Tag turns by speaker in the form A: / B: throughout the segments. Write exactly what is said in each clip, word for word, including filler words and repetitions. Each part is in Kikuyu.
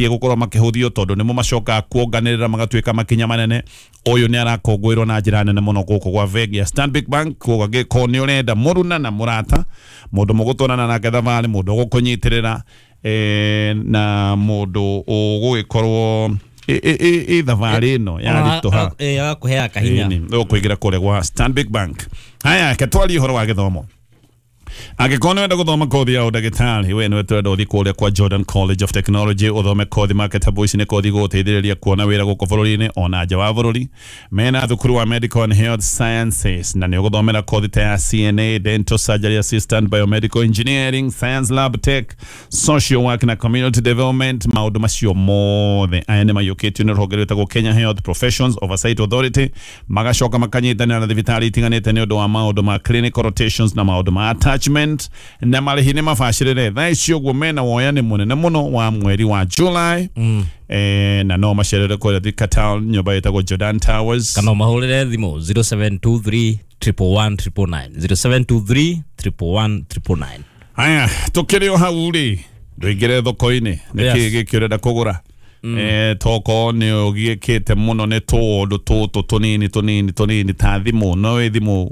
A: Gukorwo makĩhũthio tondũ nĩmo macokaga kuonganĩrĩra magatuĩka makinya manene. Ũyũ nĩ arakũngũĩrwo na njĩra nene mũno gũkũ gwa bengi ya Stanbic Bank. Koguo angĩkorwo nĩ ũrenda mũruna na mũrata, mũndũ mũgũtwarana nake thabarĩ, mũndũ ũgũkũnyitĩrĩra eh, na mũndũ ũgũgĩkorwo ĩ thabarĩ ĩno yaritũha,
B: agakũheaga kahinya,
A: ũkũingĩra kũrĩa gwa Stanbic Bank. Haya, ke twarie ũhoro wa gĩthomo. Angĩkorwo nĩ wenda gũthoma kothi ya ũndagĩtarĩ, we nĩwe tũrenda ũthiĩ kũrĩa kwa Jordan College of Technology ũthome kothi marketable. Ici nĩ kothi gũgũteithĩrĩria kuona wĩra gũkũ bũrũri-inĩ ona nja wa bũrũri. Mena thukuru wa Medical and Health Sciences na nĩ ũgũthomera kothi ta ya C N A, Dental Surgery Assistant, Biomedical Engineering, Science Lab Tech, Social Work na Community Development. Maũndũ macio mothe aya nĩ maiyũkĩtio nĩ rũhonge rwĩtagwo Kenya Health Professions Oversight Authority, magacoka makanyitanĩra na thibitarĩ itiganĩte nĩ ũndũ wa maũndũ ma clinical rotations na maũndũ ma attachment, na marĩhi nĩ mabacĩrĩre. Thaa ici ũguo mena woyani mũnene mũno wa mweri wa July mm. eh, na no macerere kũrĩa Thika Town, nyũmba ĩtagwo Jordan Towers.
B: Kana ũmahũrĩre thimũ zero seven two three triple one triple nine, zero seven two three triple one triple nine.
A: Haya, tukĩrĩ o hau rĩ, ndũingĩre thoko-inĩ, nĩ
B: Yes.
A: kĩĩ gĩkĩ ũrenda kũgũra? Eh, toko nĩ ũgiĩkĩte mũno nĩ tũũndũ tũtũ tũnini tũnini tũnini ta thimũ, no ĩ thimũ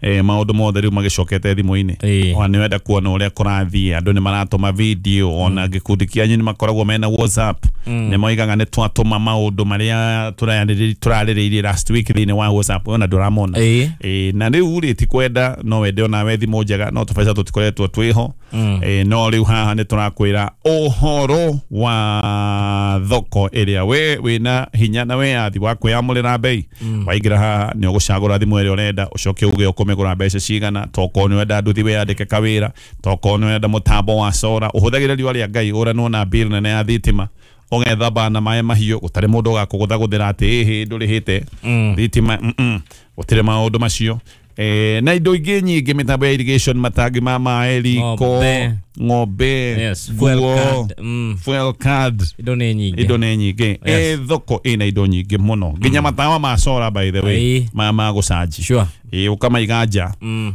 A: eh, maũndũ mothe rĩu magĩcokete thimũ-inĩ.
B: Ĩĩ.
A: Ona nĩ wenda kuona ũrĩa kũrathiĩ, andũ nĩ maratũma video, ona gĩkundi kĩanyu nĩ makoragwo mena WhatsApp, nĩ moigaga nĩ twatũma maũndũ marĩa tũrarĩrĩ- tũrarĩrĩirie last week thĩinĩ wa WhatsApp, ona ndũramona.
B: Ĩĩ.
A: Ĩĩ, na rĩu rĩ, ti kwenda no wende onawe thimũ njega, no tũbeca tũtikoretwo twĩho. Ĩĩ, no rĩu haha nĩ tũrakwĩra ũhoro wa thoko ĩrĩa we wĩna hinya na wĩyathi wa kwĩyamũrĩra bei. Waingĩra haha nĩ ũgũcagũra thimũ ĩrĩa ũrenda, ũcoke uge ũkũmĩgũra mbeca cigana. Tokorwo nĩ ũrenda nduthi wĩyandĩke kawĩra, tokorwo nĩ ũrenda mũtambo wa sora ũhũthagĩre riũa rĩa Ngai ũranwo na bill nene ya thitima, ũgethamba na maĩ mahiũ gũtarĩ mũndũ ũgakũgũthagũthĩra atĩ ĩhĩ ndũrĩhĩte thitima. mm -mm. Gũtirĩ maũndũ macio. Eh, na indo ingĩ nyingĩ, mĩtambo ya irrigation, matangi ma maĩ, riko,
B: Ng'ombe.
A: Ng'ombe,
B: Yes, fuel
A: nguo,
B: card. Mm.
A: Fuel card.
B: Indo nĩ nyingĩ.
A: Indo nĩ nyingĩ.
B: Yes.
A: Ĩ thoko ĩna indo nyingĩ mũno, nginya matawa ma sora, by the way,
B: Ĩĩ.
A: ma ma gũcanji.
B: Sure.
A: Ĩ, ũkamaiga nja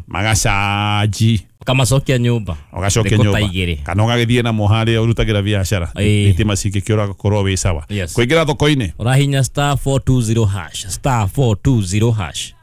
A: magacanji.
B: Ũkamacokia nyũmba.
A: Ũgacokia
B: Thikũ ta
A: nyũmba
B: igĩrĩ.
A: Kana ũgagĩthiĩ namo harĩa ũrutagĩra biacara,
B: Ĩĩ.
A: thitima cingĩkĩũra gakorwo wĩ sawa.
B: Yes.
A: Kũingĩra thoko-inĩ,
B: ũrahinya star four two zero hash, star four two zero hash.